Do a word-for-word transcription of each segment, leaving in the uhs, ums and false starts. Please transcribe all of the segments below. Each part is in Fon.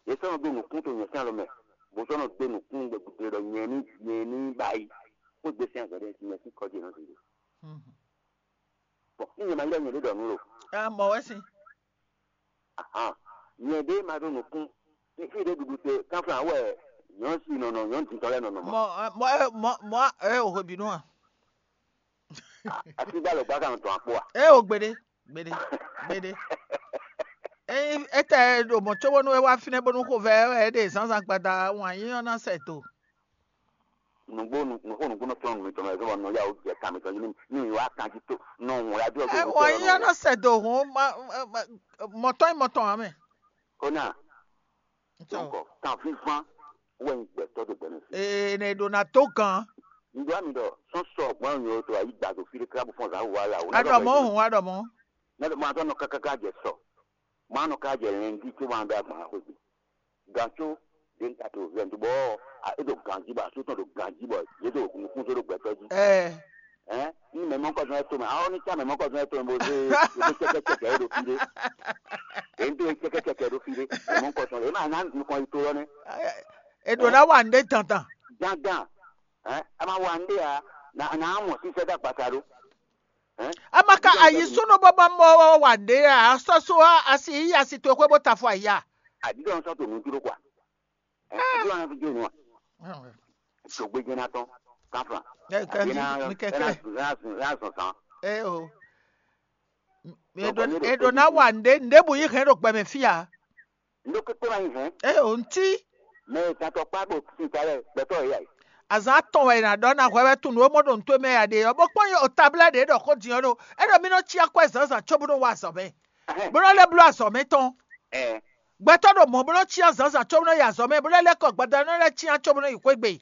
Yě sɔ́ nɔ ɖó nǔkún to nyɛ sín alɔ mɛ, bó sɔ́ nɔ ɖó nǔkún gbɛgbɛgbɛ ɖɔ nyɛ ní nyɛ ní ba yi, xwé gbe sín azɔ̌ ɖé nyɛ sín kɔ́ ce nɔ zǐn. Bɔn ní nyɛ ma ylɔ́ nyɛ ɖé ɖɔ nǔ lo. Ɛ mɔ wɛ sin. Ahan, nyɛ ɖé ma ɖó nǔkún. Fífí ɖé ɖuɖu te kánflán wɛ nyɔ̌ si nɔnɔ nyɔ̌ dintɔ́ lɛ́ɛ nɔnɔ mɔ. Mɔ mɔ mɔ mɔ ɛ o hwebinu a. Asígbá lɔ gbá kan tɔn akpó a. Ɛ o gbeɖe gbeɖe gbeɖe. Eyi etɛ ɖo mɔ tso bónú e wá fínɛ́ bónú xovɛ ɛ ɖe zǎnzǎn gbada wǎn yíyɔ́ ná sɛ do. Nǔgbó nǔgbó nǔgbó nɔ tɔn nǔ mitɔn mɛ fún nɔ yá o jɛ kan mitɔn yín ní wá kan jí tó nɔ hùn wá dúró Ɛ wǎn yíyɔ́ ná sɛ do hǔn mɔtɔn yi mɔtɔn ǎ mɛ. Kóná donc kan fínfán wɛ ń gbɛtɔ do gbɛmɛ fi. Ee ne ɖo na dó gan. Ŋdɔ mi ɖɔ sɔn sɔ gbɔn yɔ to ayi gba do fi ɖe kra bó fɔn zan wà la o. Aɖɔ mɔ hùn aɖɔ mɔ. Ne ɖo mɔ atɔ nɔ kákáká jɛ sɔ. Mɔ anɔ ká jɛ lɛn di tó wan bɛ agban xwe bi. Gantso ɖe ta to vɛ ndo bɔ e ɖo ganji bɔ asu tɔn ɖo ganji bɔ ye ɖo nukun so ɖo gbɛtɔ ji. Ɛɛ. Ɛn ní mɛ mɔ kɔsɔn ɛtɔ mɛ awɔ ní tsa mɛ mɔ kɔsɔn ɛtɔ mɛ bó zé bó zé tsɛkɛtsɛkɛ ɖo fi ɖe. Èyí tó tsɛkɛtsɛkɛ ɖo fi ɖe mɛ mɔ kɔsɔn ɛ máa ná nukɔn yi tó lɔ nɛ. Eɖo na wa ŋɖe dandan. Dandan ɛn a ma wa ŋɖe a na na mɔ sísɛ dá gbata ɖó. Ama ka ayi súnú bó bá mɔ wa ɖe a sɔsɔ a asi yi asi to xwé bó ta fɔ ayi a. Àdídɔ ń sɔ́ tò mí dúró kɔ. Ẹ ẹ dúró àwọn fi jó inú wa. Ṣògbé jẹ́ náà tán káfà. Ẹ kẹ mi kẹkẹ. Láàzùn láàzùn sàn. Ẹ o. Eɖo na wa ŋɖe ŋɖe bu yi hɛn ɖo gbɛmɛ fia. Ndó kpékpé wá yín hɛn. Ẹ o ŋti. Mɛ ìtàtọ̀ págbó sí ìtàlẹ̀ gbẹ̀tọ̀ ìyá yìí. Azan atɔn wɛ na ɖɔ na hwɛ wɛ tun nǔ e mɔ ɖo ŋutɔ́ mɛ ya ɖe ɔ́ bó kpɔ́n o tablɛ ɖě ɖɔ xó din ɔ́ ɖo é ɖɔ mí nɔ cí akwɛ́ zǎnzǎn có bó nɔ wa azɔ̌ mɛ. Bó nɔ lɛ́ bló azɔ̌ mɛ tɔn. Ɛ Gbɛtɔ́ ɖo mɔ̌ bó nɔ cí azǎnzǎn có bó nɔ yi azɔ̌ mɛ bó lɛ́ lɛ́ kɔ gbada nɔ lɛ́ cyán có bó nɔ yi xwé gbe.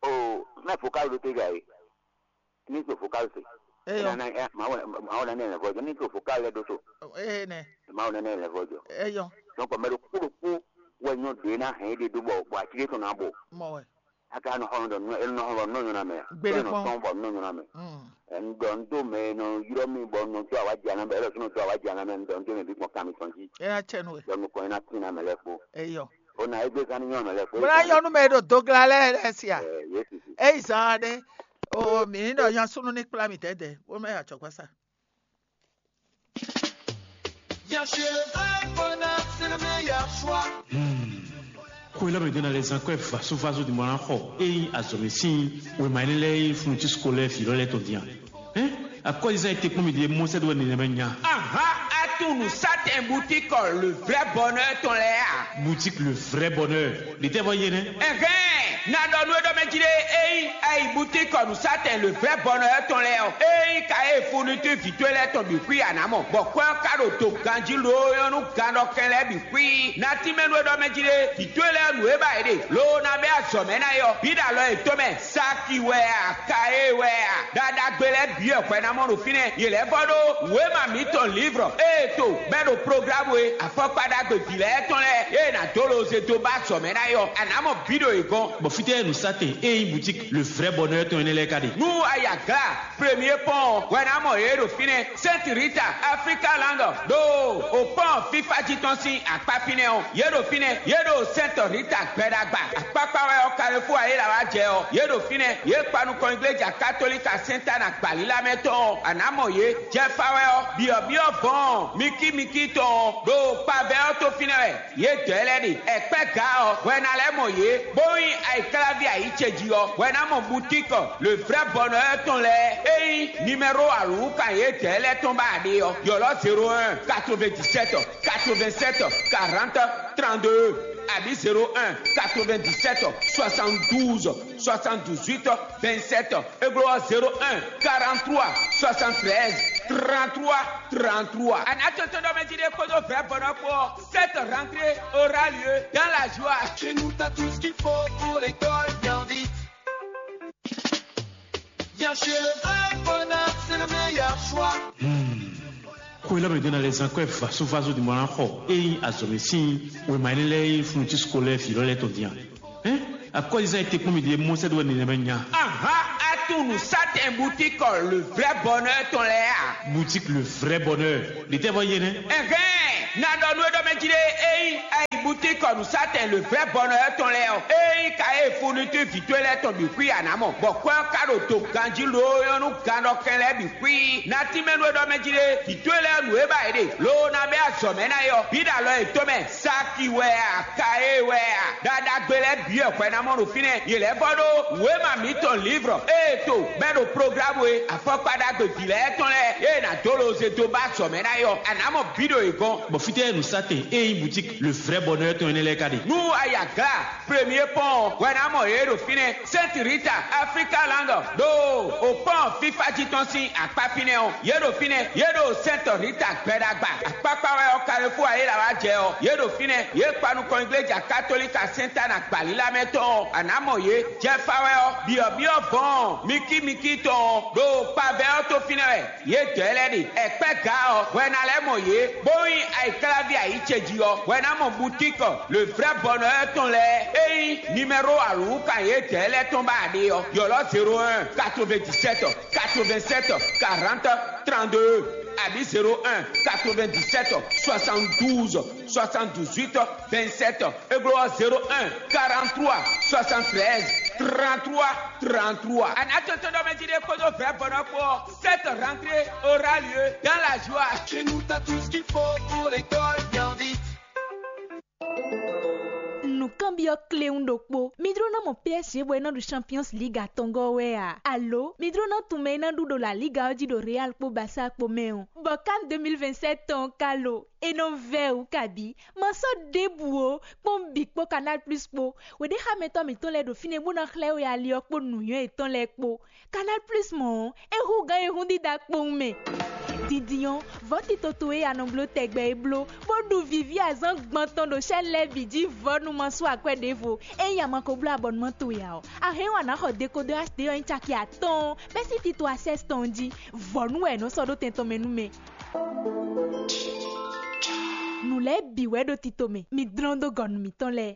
O mɛ vocal ɖo te gà e. Ní so vocal se. Eyɔ. Ena na ɛ ma wɔ ma wɔ na ne lɛ vɔjɔ ní so vocal lɛ ɖo so. Ee nɛ Ma wɔ na ne lɛ vɔjɔ. eyɔ Donc mɛ ɖo kpó ɖo kpó wɛ nyɔ ɖe na hɛn ɖe ɖo bɔ bɔ atike tɔn na bɔ. Mɔ wɛ. Aka nɔ xɔ nɔ dɔ nɔ enu nɔ xɔ nɔ nyɔ na mɛ. Gbeɖe Nɔ kpɔn. Sɔn bɔ nɔ nyɔ na mɛ. Mm. Ɛn dɔ n do mɛ nɔ yɔrɔ mi bɔ nɔ do awa dza na mɛ ɛlɔ sɔnɔ do awa dza na mɛ n dɔ n do mɛ bi kpɔn kami tɔn ji. Ena tsɛ nu wɛ. Dɔ nukɔn ina tina mɛ lɛ kpo. Eyɔ. O na egbe kan ni nyɔ mɛ lɛ kpo. Bó ná yɔnu mɛ ɖo dogla lɛ lɛ sia. Ɛ Yesu si. Eyi zan ɖe. O mi ní ɖɔ yan súnú ní kplá mi tɛ́dɛ́ bó mɛ atsɔgbasa. Bien sûr, un bonheur, c'est le meilleur choix. Xwé lɔ mɛ ɖó ná lɛ́ zán kwɛ́ vasovaso ɖi mɔ ná xɔ ényí azɔ̌mɛ sín wěma énɛ́ lɛ́ɛ e Florentino lɛ́ɛ vǐ lɔ lɛ́ɛ tɔn din a? Hɛn, akɔ́zizán e te kpɔ́n mì ɖe mɔ sɛ́ ɖó wɛ nɛnɛmɛ nya. Aha, atunu Satan butikɔ le vrai bonheur tɔn lɛ́ɛ a? Boutique le vrai bonheur. Ɖe tɛ́ vɔ yé nɛ́? Ɛhɛn, na ɖɔ nú é ɖɔ mɛ jí ɖé, ényí ayi butikɔ nu Satan le vrai bonheur tɔn lɛ́ɛ ɔ, ényí ka e fourniture vǐ towe lɛ́ɛ tɔn bǐ xwí a nǎ mɔ, bɔ kwɛ́ ɔ́ ka ɖo do ganjí loo nyɔ́ nú gannɔkɛn lɛ́ɛ bǐ xwí. Na tínmɛ nú é ɖɔ mɛ jí ɖé, vǐ towe lɛ́ɛ nǔ e ba yě ɖe, loo ná bɛ́ azɔ̌ mɛ ná é ɔ́, bǐ ɖo alɔ yětɔn mɛ. Saki wɛ a, Kaye wɛ a, ɖaɖagbe lɛ́ɛ bǐ wɛ hwɛ ná mɔ ɖo fínɛ́. Yě lɛ́ vɔ ɖó wěma mǐtɔn lǐvrɔ ée to bɛ́ ɖo programu e afɔkpa ɖagbe vǐ lɛ́ɛ tɔn lɛ́ɛ ée nǎ dó loze dó ba azɔ̌ mɛ ná é ɔ́, a nǎ mɔ bǐ ɖo yě gɔ́n. Bɔ fítɛ́ nu Satan e nyí boutique le vrai bonheur tɔn énɛ́ lɛ́ɛ ka ɖe? Nú a yi agla Premier Pont hwɛ ná mɔ yě ɖo fínɛ́, Sainte Rita, Africa Land, ɖo o pɔn fífá jí tɔn sín akpá fínɛ́ ɔ́, yě ɖo fínɛ́, yě ɖo Sainte Rita gbɛɖagba. Akpákpá wɛ ɔ́, Carrefour ayéla wá jɛ ɔ́, yě ɖo fínɛ́, yě kpa nukɔn igleja katolika Sainte Anne agbalílá mɛ tɔn ɔ́, a nǎ mɔ yě. Jɛfa wɛ ɔ́, byɔ̌byɔ́ vɔ̌ɔn mikímikí tɔn ɔ́, ɖo kpavɛ ɔ́ tó fínɛ́ wɛ. Yě dɔ̌ lɛ́ɛ ɖe ɛkpɛ́ ga ɔ́, hwɛ ná lɛ́ mɔ yě, bó nyí ayǐkláví ayǐ ce jí ɔ́, hwɛ ná mɔ butíkɔ le vrɛ́ bɔnɔ ɔ́ tɔn lɛ́ɛ. É nyí nimɛ́ro alǔwúkan yě dɔ̌ lɛ́ɛ tɔn ba ɖe ɔ́, ylɔ́ zéro un, quatre-vingt-dix-sept, quatre-vingt-sept, quarante, trente-deux, abǐ zéro un, quatre-vingt-dix-sept, soixante-douze, soixante-dix-huit, vingt-sept, é gló ɔ́ zéro un, quarante-trois, soixante-treize, trente-trois, trente-trois. Anatɔtɔdɔmɛjide kpódó vɛ̌vɔnɔ kpó ɔ́, cette rentrée aura lieu dans la joie. Chez nous, t'as tout ce qu'il faut pour l'école bien vite. Bien chez le vrai bonheur, c'est le meilleur choix. Xwé lɔ mɛ ɖó ná lɛ́ zán kwɛ́ vasovaso ɖi mɔ ná xɔ ényí azɔ̌mɛ sín wěma énɛ́ lɛ́ɛ e Florentino lɛ́ɛ vǐ lɔ lɛ́ɛ tɔn din a? Hɛn, akɔ́zizán e te kpɔ́n mì ɖe mɔ sɛ́ ɖó wɛ nɛnɛmɛ nya. Aha, atunu Satan butikɔ le vrai bonheur tɔn lɛ́ɛ a? Boutique le vrai bonheur. Ɖe tɛ́ vɔ yé nɛ́? Ɛhɛn, na ɖɔ nú é ɖɔ mɛ jí ɖé, ényí ayi butikɔ Nǔsatɛn le vrɛ́ bɔnɔyɔ́ tɔn lɛ́ɛ ɔ́, ée nyí ka e funutún vǐ towe lɛ́ɛ tɔn bǐ xwí a nǎ mɔ, bɔ kwɛ́ ɔ́ ka ɖo do ganjí loo nyɔ́ nú gannɔkɛn lɛ́ɛ bǐ xwí. Natímɛnu e ɖɔ mɛ jí ɖe, vǐ towe lɛ́ɛ nǔ e ba yě ɖe, loo ná bɛ́ azɔ̌ mɛ ná é ɔ́, bǐ ɖo alɔ yětɔn mɛ. Saki wɛ a, Kaye wɛ a, ɖaɖagbe lɛ́ɛ bǐ wɛ hwɛ ná mɔ ɖo fínɛ́. Yě lɛ́ vɔ ɖó wěma mǐtɔn Livrɔ ée to bɛ́ ɖo programu e afɔkpa ɖagbe vǐ lɛ́ɛ tɔn lɛ́ɛ ée nǎ dó loze dó ba azɔ̌ mɛ ná é ɔ́, a nǎ mɔ bǐ ɖo yě gɔ́n. Bɔ fítɛ́ nǔsatɛn e nyí boutique le vrai bonheur tɔn énɛ́ lɛ́ɛ ka ɖe? Nú a yi Aglá Premier Pɔ́n ɔ́, hwɛ ná mɔ yě ɖo fínɛ́. Sainte Rita, Africa Land, ɖo o pɔ́n fífá jí tɔn sín akpá fínɛ́ ɔ́, yě ɖo fínɛ́, yě ɖo Sainte Rita gbɛɖagba. Akpákpá wɛ ɔ́, Carrefour ayéla wá jɛ ɔ́, yě ɖo fínɛ́, yě kpa nukɔn igleja katolika Sɛntana gbǎlílá mɛ tɔn ɔ́, a nǎ mɔ yě. Jɛfa wɛ ɔ́, byɔ̌byɔ́ vɔ̌ɔn mikímikí tɔn ɔ́, ɖo kpavɛ ɔ́ tó fínɛ́ wɛ. Yědɛɛ lɛ́ɛ ɖe ɛkpɛ́ gǎ ɔ́, hwɛ ná lɛ́ mɔ yě, bó nyí ayǐkláví ayǐ ce jí ɔ́, hwɛ ná mɔ butíkɔ le vrɛ́ bɔnɔyɔ́ tɔn lɛ́ɛ e nyí nimɛro alǔwúkan yědɛɛ lɛ́ɛ tɔn ba ɖe ɔ́, ylɔ́ zéro un, quatre-vingt-dix-sept, quatre-vingt-sept, quarante, trente-deux, abǐ zéro un, quatre-vingt-dix-sept, soixante-douze, soixante-dix-huit, vingt-sept, é glɔ́ ɔ́ zéro un, quarante-trois, soixante-treize, trente-trois, trente-trois. Anatotodɔmɛjide kpódó vɛ̌bɔnɔ kpó ɔ́, cette rentrée aura lieu dans la joie. Chez nous, t'as tout ce qu'il faut pour l'école bien vite. Nǔkanbyɔ́ kléwún ɖokpó. Mi dló ná mɔ P S G bɔ é ná ɖu Champions League atɔngɔ́ wɛ a? Alo mi dló ná tunwun mɛ e ná ɖu ɖo La Liga ɔ́ jí ɖo Real kpó Barça kpó mɛ ɔ́? Bɔ CAN deux mille vingt-sept tɔn ɔ́ ka lo? É nɔ vɛ́ wǔ kabǐ. Ma sɔ́ ɖěbǔ ó, kpɔ́n bǐ kpó Canal Plus kpó. Wěɖéxámɛtɔ́ mǐtɔn lɛ́ɛ ɖo fínɛ́ bó ná xlɛ́ we ali ɔ́ kpó nǔnywɛ́ yětɔn lɛ́ɛ kpó. Canal Plus mɔ̌ ɔ́, é hú gǎn e hún dídá kpowun mɛ. Dindin ɔ́, vɔ̌ tito towe e a nɔ bló tɛgbɛ é bló, bó ɖu vǐví azǎn gbɔn tɔn ɖo chaîne lɛ́ɛ bǐ jí vɔ̌ nú ma sú akwɛ́ ɖěvo. Ényí a ma ko bló abɔnumán towe ǎ ɔ́, a hɛn ɔ́ a nǎ xɔ dekodɔ H D ɔ́ nyí caki atɔ́ɔ́n bɛ́ sín tito A sɛ́s tɔn jí. Vɔ̌ nú wɛ è nɔ sɔ́ ɖó tɛn tɔn mɛ nú mɛ. Nǔ lɛ́ɛ bǐ wɛ ɖo tito mɛ, mi dlɔ́n dó gɔ̌ nú mǐtɔn lɛ́ɛ.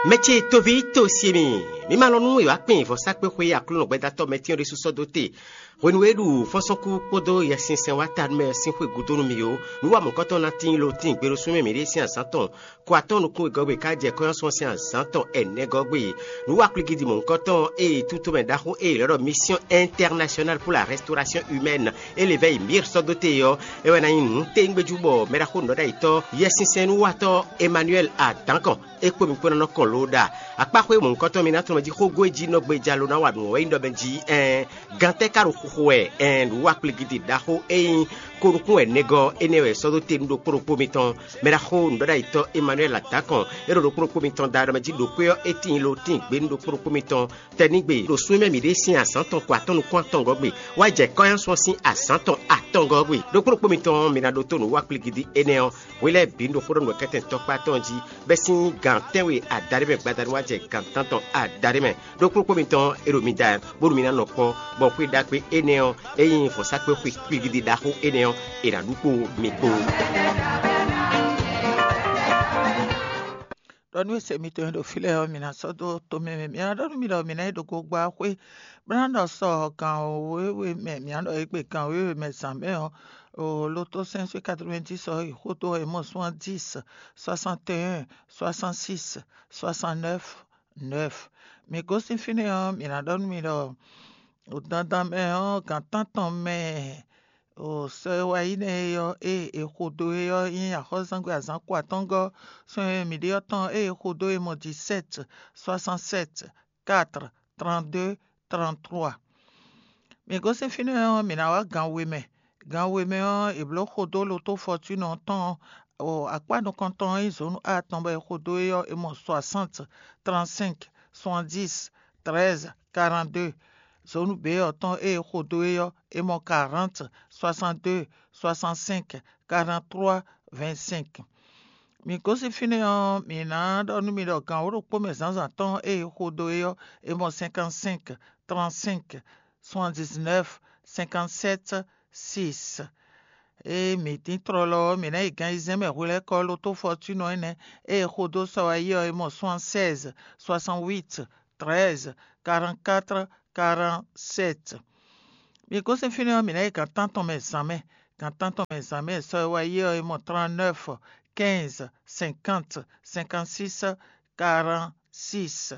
Mɛ ce toví to si mi, mi ma lɔn nú è wá kpin vɔ̌sákpéxwé Aklúnɔ gbɛdatɔ́ mɛtɛ́n ɖésú sɔ́ dó te. Hwenu e ɖu fɔ́nsɔ́nkú kpódó Yɛsinsɛn wá ta nú mɛ ɔ́ sín xwé gúdo nú mi ó, nǔ wa mɔ̌kɔ́tɔn ná tíin lo tíin gbe ɖo súnmɛ mǐɖée sín azǎn tɔn. Kɔ atɔ́ nukún wegɔ́ gbe ká jɛ kɔ́nyɔ́sɔ́ sín azǎn tɔn ɛnɛgɔ́ gbe. Nǔ wa kplígídi mɔ̌hunkɔtɔn e tutomɛ ɖaxó e è lɛ̌ ɖɔ Mission Internationale pour la Restauration Humaine e lě vɛ́ yi Mir sɔ́ dó te ɔ́, é wɛ ná nyí nǔ téwúngbéjú bɔ mɛɖaxó nǔɖɔɖ'ayǐtɔ́ Yɛsinsɛnúwatɔ́ Emmanuel Adankɔn é kpó mi kpó ná nɔ kɔn lǒ ɖa. Akpáxwé mɔ̌hunkɔtɔn mi ná tunwun mɛ jí xógó e jí nɔ gbéjá ló ná wa nǔ ɔ́ wɛ nyí ɖɔ mɛ jí ɛɛn. Gantɛ́ ka ɖo xuxo wɛ? Ɛɛn, nǔ wa kplígídi ɖaxó e nyí ko nukún wɛ nɛgɔ́ énɛ́ wɛ sɔ́ dó te nú ɖokpó ɖokpó mitɔn. Mɛɖaxó nǔɖɔɖ'ayǐtɔ́ Emmanuel Adankɔn, é ɖo ɖokpó ɖokpó mitɔn da ɖɔ mɛ jí ɖo xwé ɔ́, é tíin lo tíin gbé nú ɖokpó ɖokpó mitɔn. Tɛnígbe ɖo súnmɛ mǐɖée sín azǎn tɔn ko atɔ́ nukún atɔngɔ́ gbe, wá jɛ kɔ́nyánsɔn sín azǎn tɔn atɔngɔ́ gbe. Ɖokpó ɖokpó mitɔn mi ná ɖótó nǔ wa kplígídi énɛ́ ɔ́, hwi lɛ́ɛ bǐ ɖo xó ɖɔ nǔ kɛ́tɛn tɔkpá tɔn jí, bɛ́ sín gan tɛ́nwe adaɖé mɛ gbadanu wá jɛ gan tántɔn adaɖé mɛ. Ɖokpó ɖokpó mitɔn e ɖo mi da bónú mi ná nɔ kpɔ́, bɔ xwé ɖagbe énɛ́ ɔ́, é nyí vɔ̌sákpe xwe kpigidi ɖaxó énɛ́ ɔ́, è nǎ ɖu kpó mi kpó. Ɖɔ nú e se mitɔn e ɖo fí lɛ́ɛ ɔ́, mi ná sɔ́ dó tomɛ mɛ. Mi ná ɖɔ nú mi ɖɔ mi ná yi ɖo gogba xwé, bó ná ɖɔ sɔ gan wěwe mɛ, mi ná ɖɔ égbé gan wěwe mɛ zǎn mɛ ɔ́, o loto cinq cent quatre-vingt-dix ɔ́ yi xódó ɔ́, è mɔ soixante-dix, soixante et un, soixante-six, soixante-neuf, neuf. Mi gosín fínɛ́ ɔ́, mi ná ɖɔ nú mi ɖɔ o dandan mɛ ɔ́, gan tántɔn mɛ o sɔ e wá yi nɛ́ é ɔ́, ée è xo dó é ɔ́ nyí axɔ́zangbe azǎn ko atɔ́ngɔ́ sɔ́ e mǐ ɖe ɔ́ tɔn, ée è xo dó é mɔ dix-sept, soixante-sept, quatre, trente-deux, trente-trois. Mi gosín fínɛ́ ɔ́, mǐ ná wá gan we mɛ. Gan we mɛ ɔ́, è blǒ xo dó loto fɔtúnɔ tɔn ɔ́, o akpá nukɔntɔn ɔ́ nyí zǒnu atɔn bɔ è xo dó é ɔ́, è mɔ soixante, trente-cinq, soixante-dix, treize, quarante-deux. Zǒnu běyɔ́ tɔn e è xo dó é ɔ́, è mɔ quarante, soixante-deux, soixante-cinq, quarante-trois, vingt-cinq. Mi gosín fínɛ́ ɔ́, mǐ ná ɖɔ nú mi ɖɔ gan wǒ ɖokpó mɛ zǎnzǎn tɔn e è xo dó é ɔ́, è mɔ cinquante-cinq, trente-cinq, soixante-dix-neuf, cinquante-sept, six. Ée mǐ tín tlɔlɔ ɔ́, mǐ ná yi gan ayizɛ́n mɛ hwelɛ́kɔ loto fɔtúnɔ énɛ́ e è xo dó sɔ wá yi ɔ́, è mɔ soixante-seize, soixante-huit, treize, quarante-quatre, quarante-sept. Mi gosín fínɛ́ ɔ́, mǐ ná yi gan tántɔn mɛ zǎn mɛ. Gan tántɔn mɛ zǎn mɛ sɔ́ e wá yi ɔ́, é mɔ trente-neuf, quinze, cinquante, cinquante-six, quarante-six.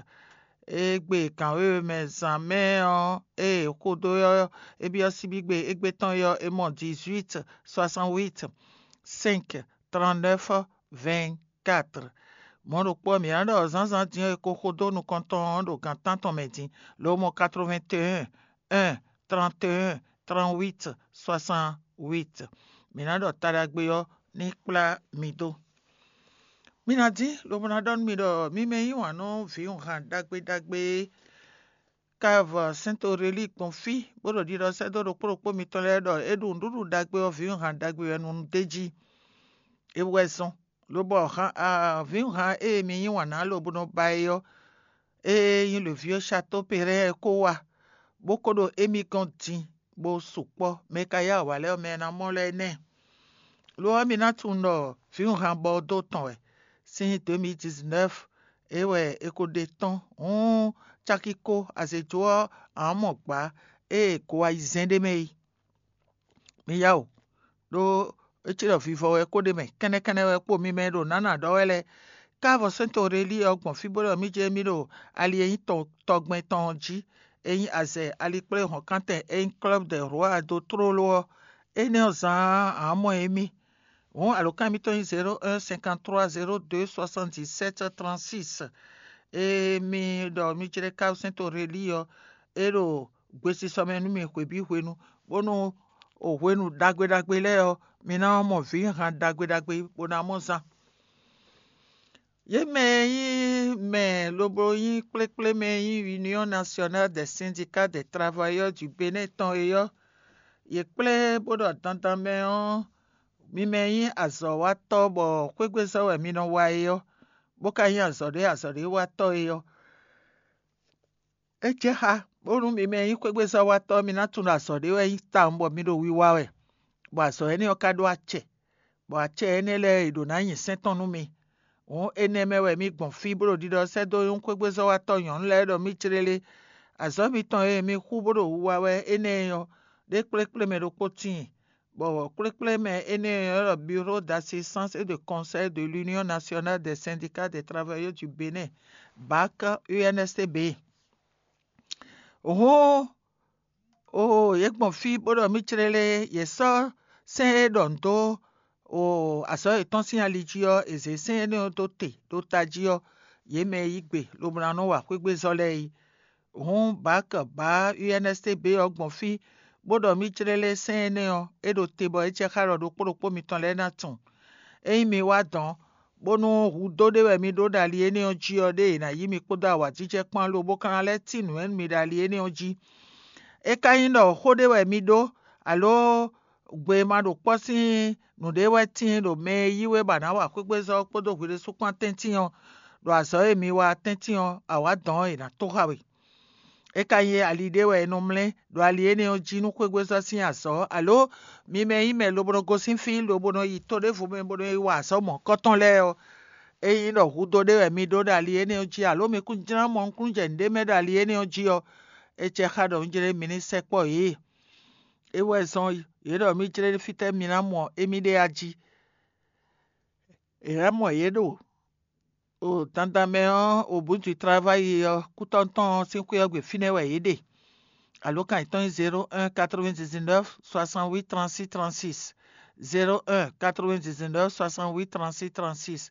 Égbé gǎn wěwe mɛ zǎn mɛ ɔ́, ée xo dó ɔ́, é byɔ́ síbígbe égbé tɔn é ɔ́, é mɔ dix-huit, soixante-huit, cinq, trente-neuf, vingt-quatre. Mɔ̌ ɖokpó ɔ́, mǐ ná ɖɔ zǎnzǎn din ɔ́, è ko xo dó nukɔn tɔn ɔ́ ɖo gan tántɔn mɛ din, ló mɔ quatre-vingt-un, un, trente-un, trente-huit, soixante-huit. Mǐ ná ɖɔ ta ɖagbe ɔ́ ní kplá mi dó. Mi ná dín lobo ná ɖɔ nú mi ɖɔ mi mɛ yí wǎn nú vǐwunhan ɖagbe ɖagbe e Kavɔ Sɛntorelíi gbɔn fí, bó ɖo ɖiɖɔ sɛ́ dó ɖokpó ɖokpó mitɔn lɛ́ɛ ɖɔ é ɖu nǔɖuɖu ɖagbe ɔ́ vǐwunhan ɖagbe wɛ nú un d'é jí. É wɛ zɔ́n, lobɔ vǐwunhan e mi yí wǎn ná lobo nɔ ba é ɔ́, é nyí lǒví ɔ́ Shatóperɛ́ɛ kó wá, bó kó ɖo émí gɔ́n din, bó sukpɔ́. Mɛ e ka yá awǎ lɛ́ɛ ɔ́, mɛ e ná mɔ lɛ́ɛ nɛ́. Lo ɔ́, mi ná tunwun ɖɔ vǐwunhan bɔ dó tɔn wɛ. Sín deux mille dix-neuf é wɛ è ko ɖe tɔ́n. Hǔn, caki ko azějó ɔ́, a nǎ mɔ gbǎ ée go ayizɛ́n ɖ'é mɛ é. Mi yá o, ɖó é cí ɖɔ vivɔ wɛ kó ɖ'é mɛ, kɛ́nnɛ́kɛ́nnɛ́ wɛ kpo mi mɛ e ɖo nǎ nǎ ɖɔ wɛ lɛ́ɛ. Káàvɔ Sɛ́ntorelíi ɔ́ gbɔn fí bó ɖɔ mì jɛ mì ɖo ali e nyí tɔgbɛn tɔn ɔ́ jí, e nyí azɛ alikpléhɔ̌nkántɛn e nyí Club des Rois dó tlóló ɔ́, énɛ́ ɔ́ zán ǎ mɔ émí. Hǔn alǒkan mitɔn nyí zéro un cinquante trois zéro deux soixante dix sept trente six. Ée mi ɖɔ mi jlɛ́ Káàvɔ Sɛ́ntorelíi ɔ́, é ɖo gbesisɔ mɛ nú mi hwebǐ hwenu, bónú o hwenu ɖagbe ɖagbe lɛ́ɛ ɔ́, mi ná mɔ vǐhan ɖagbe ɖagbe bó ná mɔ zán. Yě mɛ e nyí mɛ lobo nyí kplékplé mɛ e nyí Union Nationale des Syndicats des Travailleurs du Bénin tɔn é ɔ́, yě kplé bó ɖɔ dandan mɛ ɔ́, mi mɛ e nyí azɔ̌watɔ́ bɔ xwégbézɔ́ wɛ mi nɔ wa é ɔ́, bó ka nyí azɔ̌ ɖé azɔ̌ ɖé watɔ́ é ɔ́, é jɛ xá, bónú mi mɛ e nyí xwégbézɔ́watɔ́ mi ná tunwun ɖɔ azɔ̌ ɖé wɛ nyí tawun bɔ mi ɖo wiwa wɛ, bɔ azɔ̌ énɛ́ ɔ́ ka ɖó acɛ, bɔ acɛ énɛ́ lɛ́ɛ è ɖǒ ná nyi sɛ́n tɔn nú mi. Hǔn énɛ́ mɛ wɛ mi gbɔn fí bó ɖo ɖiɖɔ sɛ́ dó nyɔ́ xwégbézɔ́watɔ́ nyɔ̌nu lɛ́ɛ ɖɔ mì jlélé. Azɔ̌ mitɔn e mi xú bó ɖo wu wa wɛ énɛ́ ɔ́, ɖé kplékplé mɛ ɖokpó tíin, bɔ kplékplé mɛ énɛ́ ɔ́ ɖɔ Bureau d'assistance et de conseil de l'Union Nationale des Syndicats des Travailleurs du Bénin, BAC, U N S T B. Hǔn, oo, yě gbɔn fí bó ɖɔ mì jlélé, yě sɔ́ sɛ́n e ɖɔ nǔ dó, oo, azɔ̌ yětɔn sín ali jí ɔ́, è zě sɛ́n énɛ́ ɔ́ dó te ɖó tají ɔ́, yě mɛ e yí gbe lobo ná nɔ wa xwégbézɔ́ lɛ́ɛ é. Hǔn BAC bǎ U N S T B ɔ́ gbɔn fí, bó ɖɔ mì jlélé sɛ́n énɛ́ ɔ́, é ɖo te bɔ é jɛ xá ɖɔ ɖokpó ɖokpó mitɔn lɛ́ɛ ná tunwun. Ényí mi wá dɔ̌n, bónú hudó ɖé wɛ mi ɖó ɖo ali énɛ́ ɔ́ jí ɔ́, ɖé è nǎ yí mi kpódó awǎjijɛ kpán lobo ka ná lɛ́ tín nǔ nú mi ɖo ali énɛ́ ɔ́ jí. É ka nyí ɖɔ xó ɖé wɛ mi ɖó, aló gbe ma ɖo kpɔ́ sín nǔɖé wɛ tíin ɖo mɛ e yí we bɔ a nǎ wa xwégbézɔ́ kpódó hwi ɖésú kpán tɛ́ntin ɔ́, ɖo azɔ̌ e mi wa tɛ́ntin ɔ́, awǎ dɔ̌n è nǎ tó xá we. É ka nyí ali ɖé wɛ è nɔ mlɛ́ ɖo ali énɛ́ ɔ́ jí nú xwégbézɔ́ sín azɔ̌, aló mi mɛ e nyí mɛ lobo nɔ gosín fí lobo nɔ yi to ɖěvo mɛ bó nɔ yi wa azɔ̌ mɔ̌kɔ́tɔn lɛ́ɛ ɔ́, ényí ɖɔ hudó ɖé wɛ mi ɖó ɖo ali énɛ́ ɔ́ jí, aló mi kún jlán mɔ nukúnnú jɛ nǔɖé mɛ ɖo ali énɛ́ ɔ́ jí ɔ́, é cɛ xá ɖɔ un jlé mi ní sɛkpɔ́ yě. É wɛ zɔ́n yě ɖɔ mì jlé fítɛ́ mi ná mɔ émí ɖe a jí. È nǎ mɔ yě ɖo o dandan mɛ ɔ́, o bǔ du travayi ɔ́ kútɔ́ tɔn ɔ́ sín xwé ɔ́ gbe fínɛ́ wɛ yě ɖe. Alǒkan yětɔn nyí zéro un quatre-vingt-dix-neuf soixante-huit trente-six trente-six, zéro un quatre-vingt-dix-neuf soixante-huit trente-six trente-six.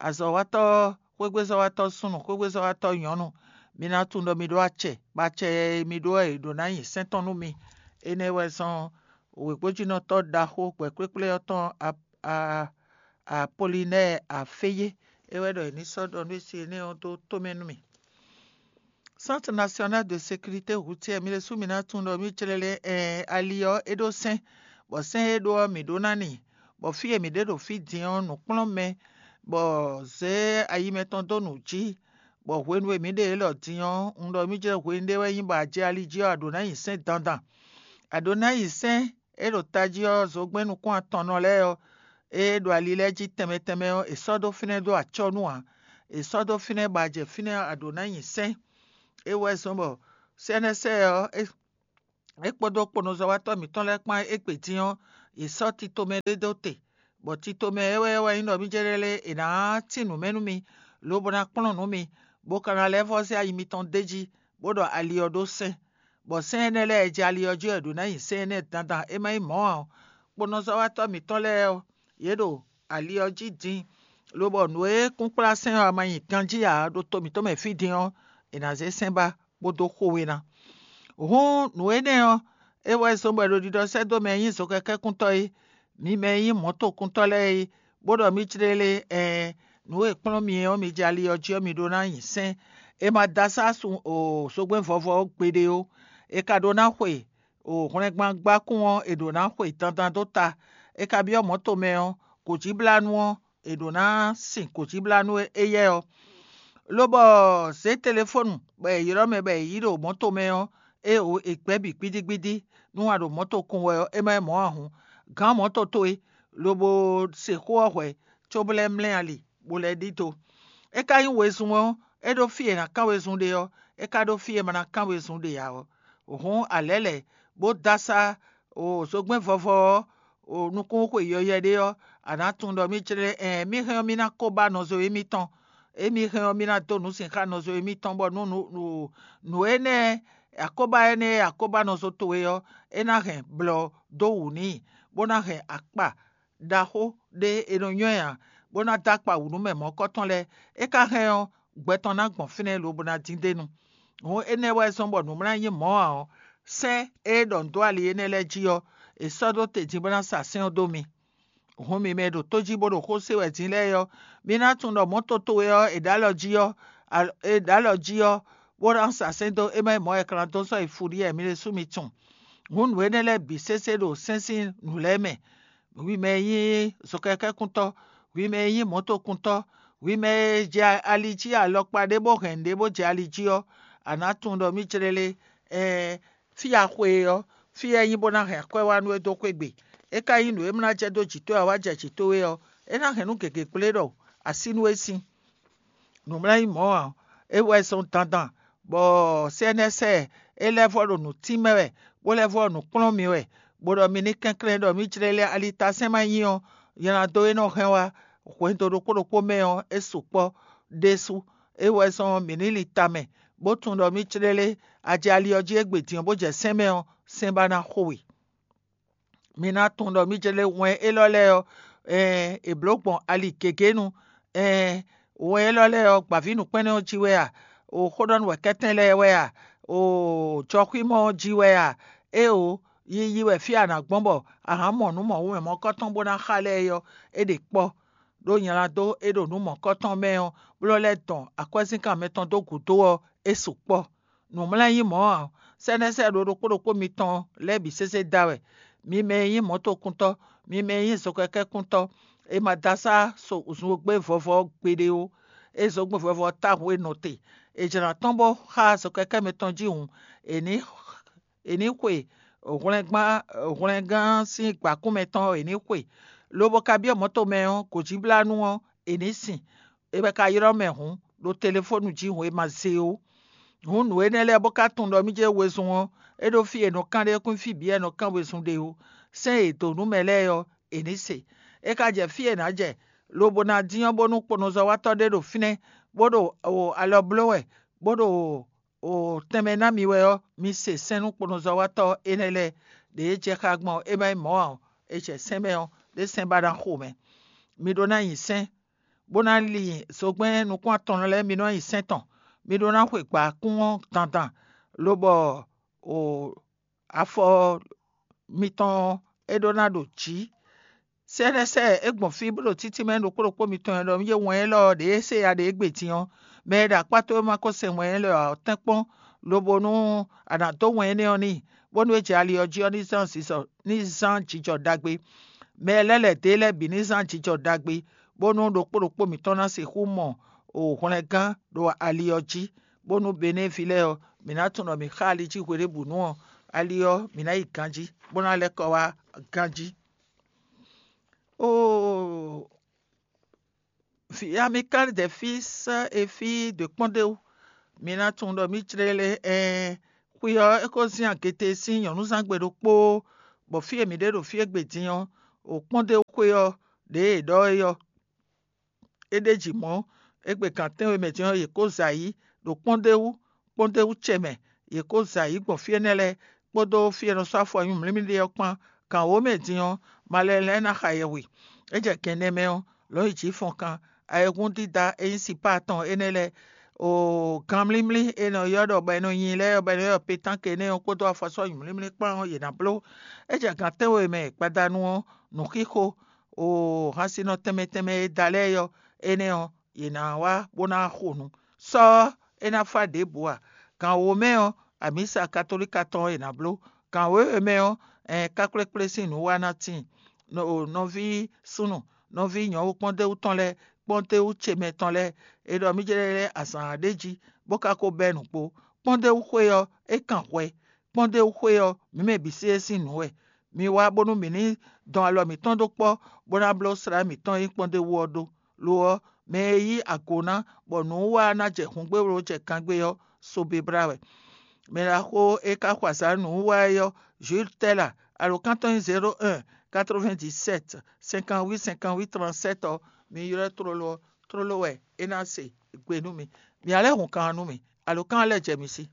Azɔ̌watɔ́, xwégbézɔ́watɔ́ súnnu, xwégbézɔ́watɔ́ nyɔ̌nu, mi ná tunwun ɖɔ mi ɖó acɛ, bɔ acɛ e mi ɖó wɛ è ɖǒ ná nyi sɛ́n tɔn nú mi. Énɛ́ wɛ zɔ́n wěgbójínɔtɔ́ ɖaxó gbɛ̌kplékplé ɔ́ tɔn Apolinɛ́ɛ Aféyé, é wɛ ɖɔ è ní sɔ́ ɖɔ nú énɛ́ ɔ́ dó tomɛ nú mì. Centre National de Sécurité Routière, mi ɖésú mi ná tunwun ɖɔ mì jlɛ́ lɛ́ɛ, ɛɛn, ali ɔ́ é ɖó sɛ́n, bɔ sɛ́n e é ɖó ɔ́ mǐ ɖó ná n'i, bɔ fí e mǐ ɖe ɖo fí din ɔ́, nǔkplɔ́nmɛ, bɔ zě ayi mɛtɔn dó nǔ jí, bɔ hwenu e mǐ ɖe élɔ́ din ɔ́, un ɖɔ mì jlɛ́ hwenu ɖé wɛ nyí bɔ a jɛ ali jí ɔ́, a ɖǒ ná nyi sɛ́n dandan. A ɖǒ ná nyi sɛ́n e ɖo tají ɔ́, zogbɛ́n nukún atɔnnɔ lɛ́ɛ ɔ́, e ɖo ali lɛ́ɛ jí tɛnmɛ tɛnmɛ ɔ́, è sɔ́ ɖó fínɛ́ dó acɔ́ nú ǎ. È sɔ́ ɖó fínɛ́ bɔ a jɛ fínɛ́ ɔ́, a ɖǒ ná nyi sɛ́n. É wɛ zɔ́n bɔ C N S ɔ́, é kpódó kponɔzɔ́watɔ́ mǐtɔn lɛ́ɛ kpán égbé din ɔ́, Yě sɔ́ tito mɛ ɖé dó te, bɔ tito mɛ é wɛ wɛ nyí ɖɔ mì jɛ lɛ́ lé è nǎ tín nǔ mɛ nú mi, lobo ná kplɔ́n nǔ mi, bó ka ná lɛ́ vɔ́ zé ayi mitɔn d'é jí, bó ɖɔ ali ɔ́ ɖó sɛ́n. Bɔ sɛ́n énɛ́ lɛ́ɛ e jɛ ali ɔ́ jí ɔ́, è ɖǒ ná nyi sɛ́n énɛ́ dandan; é má nyí mɔ̌ ǎ ɔ́, kponɔzɔ́watɔ́ mǐtɔn lɛ́ɛ ɔ́, yě ɖo ali ɔ́ jí din, lobɔ nǔ e kúnkplá sɛ́n ɔ́ ma nyi ganjí ǎ ɖo to mǐtɔn mɛ fí din ɔ́, è nǎ zé sɛ́n ba bó dó xo we ná. Hǔn nǔ énɛ́ ɔ́, é wɛ zɔ́n bɔ è ɖo ɖiɖɔ sɛ́ dó mɛ e nyí zokɛkɛ́kúntɔ́ é, mi mɛ e nyí mɔ̌tokuntɔ́ lɛ́ɛ é, bó ɖɔ mì jlélé, ɛɛn, nǔ e kplɔ́n mi é ɔ́, mi jɛ ali ɔ́ jí ɔ́, mi ɖó ná nyi sɛ́n. È ma da sá sun o zogbɛ́n vɔvɔ ɔ́ gbeɖé ó; è ka ɖó ná xwe o hwlɛngban gbákún ɔ́, è ɖǒ ná xwe dandan dó ta. È ka byɔ́ mɔ̌ tomɛ ɔ́, gǒjíblánú ɔ́, è ɖǒ ná sin gǒjíblánú éyɛ́ ɔ́. Lobɔ zě telefónu bɔ è ylɔ́ mɛ bɔ è yí ɖo mɔ̌ tomɛ ɔ́, é o è gbɛ́ bǐ gbídígbídí. Nú a ɖo mɔ̌ tokun wɛ ɔ́, é má nyí mɔ̌ ǎ hǔn, gǎn mɔ̌ to towe, lobo se xó ɔ́ hwɛ̌, cóbó lɛ́ mlɛ́ ali, bó lɛ́ ɖidó. É ka nyí wezun ɔ́, é ɖó fí e è nǎ kán wezun ɖe ɔ́; é ka ɖó fí e è ma ná kán wezun ɖe ǎ ɔ́. Hǔn a lɛ̌ lɛ̌, bó dó asá o zogbɛ́n vɔvɔ ɔ́, o nukúnxwe yɔyɛ ɖé ɔ́, a nǎ tunwun ɖɔ mì jlɛ́ ɛɛn mì hɛn ɔ́, mì ná ko ba nɔzo émítɔn. Émí hɛn ɔ́, mì ná dó nǔ sin xá nɔzo émítɔn, bɔ nú nǔ nǔ énɛ́ akóbá énɛ́ e akóbánɔzo towe ɔ́, é ná hɛn blɔ dó wǔ n'i, bó ná hɛn akpa ɖaxó ɖé e nɔ nywɛ́ ǎ, bó ná dó akpa wǔ nú mɛ mɔ̌kɔ́tɔn lɛ́ɛ. É ka hɛn ɔ́, gbɛ tɔn ná gbɔn fínɛ́ lobo ná dín d'é nu. Hǔn énɛ́ wɛ zɔ́n bɔ nǔmlá nyí mɔ̌ ǎ ɔ́, sɛ́n e ɖɔ nǔ dó ali énɛ́ lɛ́ɛ jí ɔ́, è sɔ́ dó te din bó ná sa sɛ́n ɔ́ dó mi. Hǔn mi mɛ e ɖo tó jí bó ɖo xó se wɛ din lɛ́ɛ ɔ́, mi ná tunwun ɖɔ mɔ̌ toto e ɔ́ è ɖǒ alɔ jí ɔ́, è ɖǒ alɔ jí ɔ́, bó ná sa sɛ́n dó é má nyí mɔ̌ wɛ è ka ná dó sɔ́ yi fuɖíɛ mi ɖésú mi tunwun. Hǔn nǔ énɛ́ lɛ́ɛ bǐ sésé ɖo sɛ́n sín nǔ lɛ́ɛ mɛ. Hwi mɛ e nyí zokɛkɛ́kuntɔ́, hwi mɛ e nyí mɔ̌tokuntɔ́, hwi mɛ e jɛ ali jí alɔkpa ɖé bó hɛn nǔɖé bó jɛ ali jí ɔ́, a nǎ tunwun ɖɔ mì jlélé, ɛɛn, fí a xwe e ɔ́, fí e é nyí bó ná hɛn akwɛ́ wá nú we dó xwé gbe. É ka nyí nǔ e mlá jɛ dó jǐ towe ǎ wá jɛ jǐ towe ɔ́, é ná hɛn nú gěgé gblé ɖɔ a sí nú é sín. Nǔmlá nyí mɔ̌ ǎ, é wɛ zɔn dandan, bɔ sɛ́nɛ́sɛ é lɛ́ vɔ́ ɖo nǔ tín mɛ wɛ, bó lɛ́ vɔ́ ɖo nǔ kplɔ́n mi wɛ, bó ɖɔ mi ní kɛnklɛ́n ɖɔ mì jlélé alitasɛ́n ma nyí ɔ́, nylá dó e nɔ hɛn wá hwɛndo ɖokpó ɖokpó mɛ ɔ́, é sukpɔ́ ɖésú. É wɛ zɔn mǐ ní lin tamɛ, bó tunwun ɖɔ mì jlélé a jɛ ali ɔ́ jí égbé din ɔ́, bó jɛ sɛ́n mɛ ɔ́, sɛ́n ba ná xo we. Mi ná tunwun ɖɔ mì jlé wɛn élɔ́ lɛ́ɛ ɔ́, ɛɛn, è blǒ gbɔn ali gěgé nu. Ɛɛn, wɛn élɔ́ lɛ́ɛ ɔ́, gbǎvínǔkpɛ́nnɛ́ ɔ́ jí wɛ a? O xóɖɔ́núwɛkɛ́tɛn lɛ́ɛ wɛ a? O jɔxwímɔ ɔ́ jí wɛ a? Éeǒ, yiyi wɛ fí a nǎ gbɔn bɔ a hǎn mɔ nǔ mɔ̌hunmɛ mɔ̌kɔ́tɔn bó ná xa lɛ́ɛ é ɔ́, é ɖe kpɔ́. Ɖó nylá dó é ɖo nǔ mɔ̌kɔ́tɔn mɛ ɔ́, bló lɛ́ dɔn akwɛ́zínkan mɛtɔn dó gǔdo ɔ́, é sukpɔ́. Nǔmlɛ́nyí mɔ̌ ǎ, sɛ́nɛ́sɛ ɖo ɖokpó ɖokpó mitɔn lɛ́ɛ bǐ sésé da wɛ. Mi mɛ e nyí mɔ̌tokuntɔ́, mi mɛ e nyí zokɛkɛ́kuntɔ́, è ma da sá so zungbé vɔvɔ ɔ́ gbeɖé ó. É zɔ́gbɛ́n vɔvɔ ɔ́ táhǔ e nɔ te. È jlǎ tɔ́n bó xá zokɛkɛ́ mɛtɔn jí hǔn, è ní è ní xwe hwlɛngán hwlɛngán sín gbǎkún mɛtɔn ɔ́, è ní xwe, lobo ka byɔ́ mɔ̌ tomɛ ɔ́, gǒjíblánú ɔ́, è ní sin. È wɛ ka ylɔ́ mɛ hǔn, ɖo telefónu jí hǔn e ma zé ó. Hǔn nǔ énɛ́ lɛ́ɛ bó ka tunwun ɖɔ mì jɛ wezun ɔ́, é ɖó fí e è nɔ kán ɖe kún fí bǐ wɛ è nɔ kán wezun ɖe ó. Sɛ́n e è dǒ nú mɛ lɛ́ɛ ɔ́, è ní se. É ka jɛ fí e è nǎ jɛ, lobo ná dín ɔ́ bónú kponɔzɔ́watɔ́ ɖé ɖo fínɛ́, bó ɖo alɔ bló wɛ, bó ɖo o tɛnmɛ ná mi wɛ ɔ́, mi se sɛ́n nú kponɔzɔ́watɔ́ énɛ́ lɛ́ɛ. Ɖě e jɛ xá gbɔn é má nyí mɔ̌ ǎ ɔ́, è jɛ sɛ́n mɛ ɔ́, ɖé sɛ́n ba ná xo mɛ. Mi ɖó ná nyi sɛ́n, bó ná li zogbɛ́n nukún atɔn lɛ́ɛ, mi nɔ nyi sɛ́n tɔn. Mi ɖó ná xwe gbǎkún ɔ́ dandan, lobɔ o afɔ mitɔn ɔ́, é ɖó ná ɖo jǐ. Sɛ́nɛsɛ é gbɔn fí bó ɖo títí mɛ ɖokpó ɖokpó mitɔn e ɖɔ mì jɛ wɛn élɔ́ ɔ́ ɖě e se ya ɖě gbe din ɔ́, mɛ e ɖo akpá towe ma ko se wɛn élɔ́ ǎ ɔ́, tɛ́nkpɔ́n, lobo nú a nǎ dó wɛn énɛ́ ɔ́ n'i, bónú é jɛ ali ɔ́ jí ɔ́ ní zán zizɔ ní zán jijɔ ɖagbe. Mɛ lɛ́ lɛ̌ dó e lɛ́ɛ bǐ ní zán jijɔ ɖagbe, bónú ɖokpó ɖokpó mǐtɔn ná sixú mɔ o hwlɛngán ɖo ali ɔ́ jí, bónú Benɛ́vi lɛ́ɛ ɔ́, mǐ ná tunwun ɖɔ mǐ xa ali jí hweɖěbǔnu ɔ́, ali ɔ́, mǐ ná yi ganjí, bó ná lɛ́ kɔ wá ganjí. Oo, vǐ Amikali ɖe fí sɛ́ efí dǒ kpɔ́n ɖé wú. Mi ná tunwun ɖɔ mì jlé lé ɛɛn, xwi ɔ́, é ko zín agete sín nyɔ̌núzángbe ɖokpó, bɔ fí e mǐ ɖe ɖo fí égbé din ɔ́, o kpɔ́ndéwúxwé ɔ́ ɖě e è ɖɔ é ɔ́, é ɖ'é jí mɔ̌. Égbé gan tɛ́nwe mɛ din ɔ́, yě kó zɛ ayǐ ɖo kpɔ́ndéwú, kpɔ́ndéwú ce mɛ; yě kó zɛ ayǐ gbɔn fí énɛ́ lɛ́ɛ kpódó fí e è nɔ sɔ́ afɔ nyumlímlí ɖe ɔ́ kpán. Gan wǒ mɛ din ɔ́, malɛn lɛ́ɛ ná xa yɛhwe. É jɛ gan ɛnɛ mɛ ɔ́, lɔ̌nyijǐ fɔnkan, ayihún dídá e nyí sipá atɔn énɛ́ lɛ́ɛ, o ganmlímlí e è nɔ ylɔ́ ɖɔ bɔ è nɔ nyi lɛ́ɛ ɔ́, bɔ è nɔ ylɔ́ pétánk énɛ́ ɔ́ kpódó afɔsɔ́ nyumlímlí kpán ɔ́, yě ná bló. É jɛ gan tɛ́nwe mɛ gbadanu ɔ́, nǔxixo, o hansinɔ tɛnmɛ tɛnmɛ e da lɛ́ɛ ɔ́, énɛ́ ɔ́, yě ná wá bó ná xo nǔ. Sɔ́ ɔ́, é ná fá ɖěbǔ ǎ. Gan wǒ mɛ ɔ́, amǐsa katolíka tɔn ɔ́ è nǎ bló. Gan wěwe mɛ ɔ́, ɛn kákplékplé sín nǔ wá ná tíin. Nɔví súnnu, nɔví nyɔ̌nu kpɔ́ndéwú tɔn lɛ́ɛ, kpɔ́ndéwú ce mɛ tɔn lɛ́ɛ, è ɖɔ mì jlɛ́ lɛ́ azǎn ɖé jí, bó ka ko bɛ́ nǔgbó. Kpɔ́ndéwú xwé ɔ́, é kan hwɛ. Kpɔ́ndéwú xwé ɔ́, mǐ mɛ bǐ sí é sín nǔ wɛ. Mi wá bónú mǐ ní dɔn alɔ mǐtɔn dó kpɔ́, bó ná bló slá mǐtɔn e nyí kpɔ́ndéwú ɔ́ ɖó. Lo ɔ́, mɛ e yí ago ná, bɔ nǔwiwa ná jɛ hǔngbéwló jɛ kangbé ɔ́, sobe blá wɛ. Mɛ ɖaxó e ka xo azǎn nǔwiwa é ɔ́, Jules Tɛ́la, alǒkan tɔn nyí zéro un, quatre-vingt-dix-sept, cinquante-huit, cinquante-huit, trente-sept ɔ́, mi ylɔ́ tlóló ɔ́, tlóló wɛ é ná se gbe nú mi. Mi ǎ lɛ́ hun kan ɔ́ nú mì. Alǒkan ɔ́ lɛ́ jɛ mi sí.